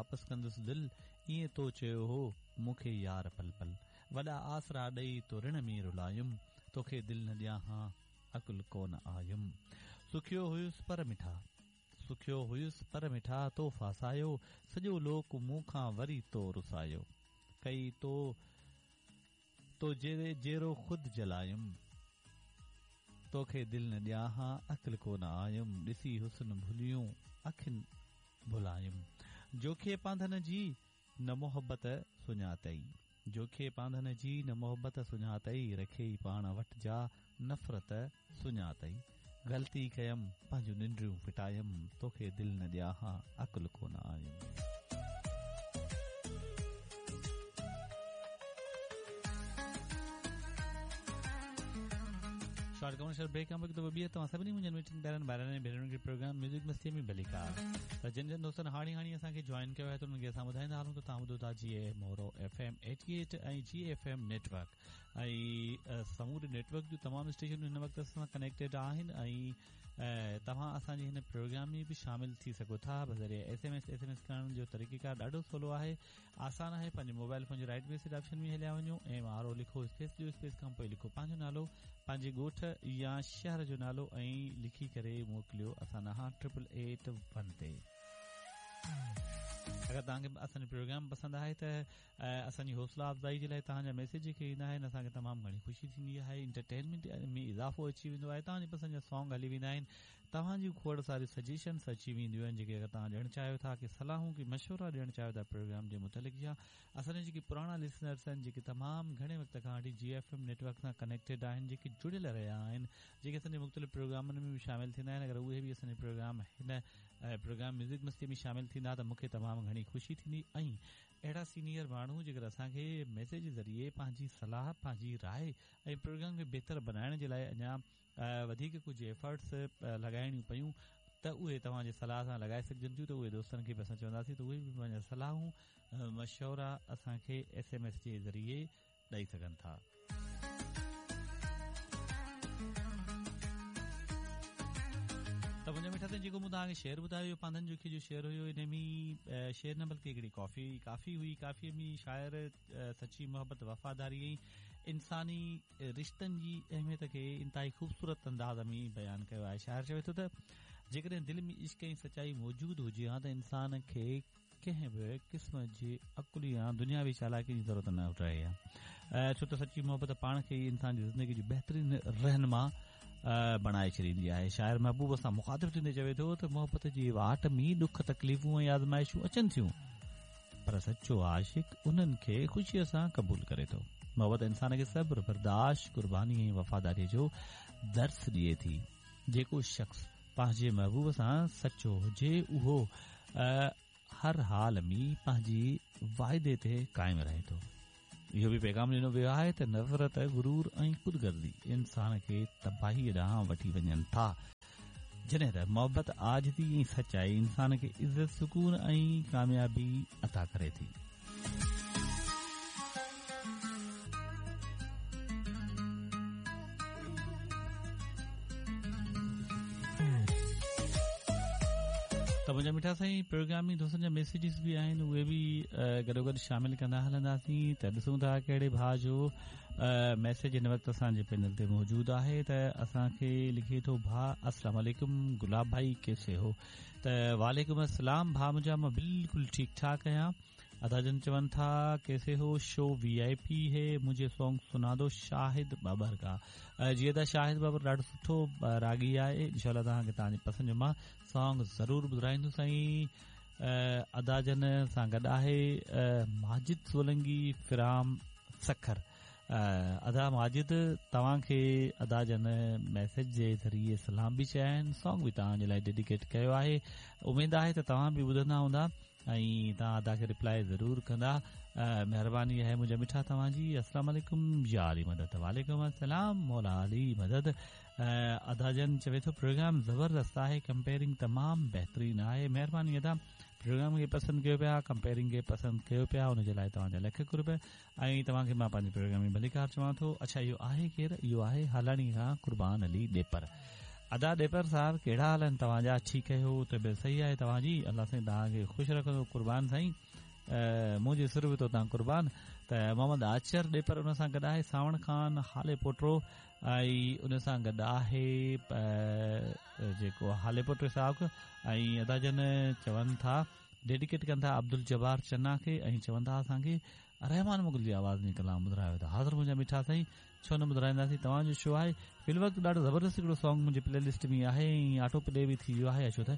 واپس ڪندس دل، ائين تو چيو هو مون کي يار پل پل. وڏا آسرا ڏئي تو رڻ ۾ رلايم، توکي دل نه ڏيان ها عقل ڪونه آيم. سکيو هيس پر مٺا، سکيو هيس پر مٺا تو ڦاسايو، سڄو لوڪ مون کان وري تو رسايو. ڪئي تو تو جيرو خود جلايم، توکي دل نه ڏيان ها عقل ڪو نه آيم، ڏسي حسن ڀليون اکين ڀلايم. جوکي پانڌن جي نه محبت سڃاتئي، جوکي پانڌن جي نه محبت سڃاتئي، رکيئي پاڻ وٽ جا نفرت سڃاتئي. غلطي ڪيم پنهنجون ننڊيون ڦٽايم، توکي دل نه ڏيان ها عقل ڪو نه آيم. شارٽ ڪمرشل بريڪ کان پوء هڪ دفعو ٻيهر توهان سڀني منهنجن مٺن پيارن ڀائرن ۽ ڀينرن کي پروگرام ميوزڪ مستي ۾ ڀليڪار ته جن جن دوستن هاڻي هاڻي اسان کي جوائن ڪيو آهي ته انهن کي اسان ٻڌائيندا هلون ته توهان ٻڌو ٿا جيئي Moro F M eighty eight ۽ G F M network ۽ سموري نيٽ ورڪ جون تمام اسٽيشنون هن وقت اسان سان ڪنيڪٽيڊ آهن ۽ توهان اسان جي هن پروگرام ۾ به شامل ٿي سگهو ٿا بذريعي S M S S M S ڪرڻ جو طريقيڪار ڏاڍو سولو آهي آسان آهي پنهنجي موبائل فون جي رائٽ ميسيج آپشن ۾ هليا وڃو ايم آر او لکو اسپيس ڏيو اسپيس کان پوء لکو پنهنجو نالو پنهنجي ڳوٺ يا شهر جو نالو ۽ لکي ڪري موڪليو اسان ڏانهن ٽرپل ايٽ ون تي اگر توهان کي اسان جو پروگرام پسند آهي ته اسان جي حوصلا افزائي جي لاء توهان جا ميسيج جيڪي ايندا آهن اسان کي تمام گهڻي خوشي ٿيندي آهي انٽرٽينمينٽ ۾ اضافو اچي ويندو آهي توهان جي پسند جا سانگ هلي ويندا آهن توهان جون کوڙ ساريون سجيشنس اچي وينديون آهن جيڪي اگر توهان ڏيڻ چاهيو ٿا ڪي صلاحون ڪي مشورا ڏيڻ چاهيو ٿا پروگرام جي متعلق يا اسان جا جيڪي پراڻا لسنرس آهن جيڪي تمام گهڻي وقت کان وٺي جي ايف ايم نيٽورڪ سان ڪنيڪٽيڊ آهن جيڪي جڙيل رهيا آهن جيڪي اسان جي مختلف پروگرامن ۾ به شامل ٿيندا آهن اگر اهي به اسان جي پروگرام هن پروگرام ميوزڪ مستي ۾ شامل ٿيندا ته مون کي تمام گهڻي خوشي ٿيندي ۽ اهڙا سينيئر ماڻهو جيڪر اسان کي ميسيج ذريعي پنهنجي صلاح، پنهنجي راء ۽ پروگرام کي بهتر بنائڻ جي لاء اڃا وڌيڪ ڪجهه ايفرٽس لڳائڻيون پيون ته اهي توهان جي صلاح سان لڳائي سگهجن ٿيون ته اهي دوستن کي به اسان چونداسين ته اهي به پنهنجا صلاحون مشورا اسان کي ايس ايم ايس جي ذريعي ڏئي سگهن ٿا. ته منهنجا مٺا سائين جيڪو مون توهان کي شعر ٻڌايو اهو پانڌن جوکيي جو شعر هيو ان ۾ شعر نه بلڪه هڪڙي ڪافي ڪافي هئي ڪافي ۾ شاعر سچي محبت وفاداري ۽ انساني رشتن جي اهميت کي انتهائي خوبصورت انداز ۾ بيان ڪيو آهي شاعر چوي ٿو ته جيڪڏهن دل ۾ عشق ۽ سچائي موجود هجي ها ته انسان کي ڪنهن به قسم جي عقل يا دنياوي چالاڪي جي ضرورت نه رهي ها ڇو ته سچي محبت پاڻ کي ئي انسان جي زندگي جو بهترين رهنما بڻائي ڇڏيندي آهي شاعر محبوب سان مخاطب ٿيندي چوي ٿو ته محبت جي واٽ ۾ ڏک تڪليفون ۽ آزمائشون اچن ٿيون پر سچو عاشق انهن کي خوشيء سان قبول ڪري ٿو محبت انسان کي صبر برداشت قرباني ۽ وفاداري جو درس ڏئي ٿي جيڪو شخص پنهنجي محبوب سان سچو هجي اهو هر حال ۾ پنهنجي واعدي تي قائم رهي ٿو. اهو به پيغام ڏنو ويو آهي ته نفرت، غرور ۽ خود غرضي انسان کي تباهيء ڏانهن وٺي وڃن ٿا، جڏهن ته محبت، عاجزي ۽ سچائي انسان کي عزت، سڪون ۽ ڪاميابي عطا ڪري ٿي. ته منهنجا مٺا سائين پروگرام ۾ دوستن جا ميسيجز به آهن اهي به گڏو گڏ شامل ڪندا هلنداسين ته ڏسون ٿا ڪهڙي ڀاء جو ميسيج هن وقت اسان جي پينل تي موجود آهي ته اسان کي لکي ٿو ڀاء السلام عليڪم گلاب ڀائي ڪيسي هو ته وعليڪم السلام ڀاء منهنجا مان بلڪل ٺيڪ ٺاڪ آهيان ادا جن چون ٿا ڪيسي هو شو وي آئي پي هي مجهي سونگ سنا دو شاهد بابر ڪا جي ادا شاهد بابر ڏاڍو سٺو راڳي آهي انشاء الله توهان کي توهان جي پسند جو مان سانگ ضرور ٻڌرائيندس سائين ادا جن سان گڏ آهي ماجد سولنگي فرام سکر ادا ماجد توهان کي ادا جن ميسيج جي ذريعي سلام به چيا آهن سانگ به توهان جي لاء ڊيڊيڪيٽ ڪيو آهي اميد آهي ته توهان به ٻڌندا هوندا ۽ توهان ادا کي ريپلائي ضرور ڪندا مهرباني آهي منهنجا مٺا توهان جي السلام عليڪم يا علي مدد وعليڪم السلام مولا علي مدد ادا جن چوي ٿو پروگرام زبردست آهي ڪمپيئرنگ تمام بهترين آهي مهرباني ادا پروگرام کي پسند ڪيو پيا ڪمپيئرنگ کي پسند ڪيو پيا ان جي لاء توهان جا لک قرب ۽ توهان کي مان پنهنجي پروگرام ۾ ڀليڪار چوان ٿو اڇا اهو آهي ڪير اهو آهي هالاڻي کان قربان علي ڏيپر ادا ڏيپر صاحب ڪهڙا حال آهن توهان جا ٺيڪ آهيو طبيعت صحيح آهي توهان جي الله سائين توهان کي خوش رکندو قربان سائين منهنجي سر به تو تان قربان ته محمد آچر ڏيپر ان سان گڏ آهي ساوڻ خان هالي پوٽو ۽ ان سان گڏ آهي جيڪو هالي پوٽو صاحب ۽ ادا جن چون ٿا ڊيڊيڪيٽ ڪن ٿا عبدالجبار چنا کي ۽ چون ٿا اسان کي رحمان مغل جي آواز ۾ ڪلام ٻڌرايو ته حاضر منهنجا مٺا سائين ڇو نه ٻڌرائينداسين توهان جو شو آهي في الوقت ڏاڍو زبردست هڪڙو سانگ منهنجي پلي لسٽ ۾ آهي ۽ آٽو پلي به ٿي ويو آهي اچو ته